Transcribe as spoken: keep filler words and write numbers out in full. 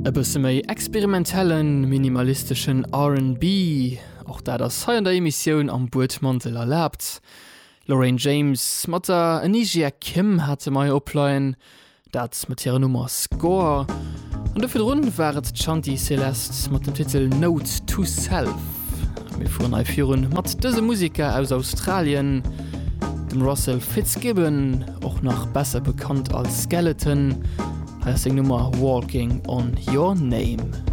E bësse méi experimentellen, minimalisteschen R and B, och dat ass hei an der Emissioun am Buedmantel erlaabt. Lorraine James mat der Anisia Kim hate mer opleien, dat mat hirer Nummer Score. An do virdrun war et Shanti Celeste mat dem Titel Note to Self. Mir fueren hei virun mat dësem Museker aus Australien, dem Russell Fitzgibbon, och nach besser bekannt als Skeleton. Hei ass seng Nummer Walking on Your Name.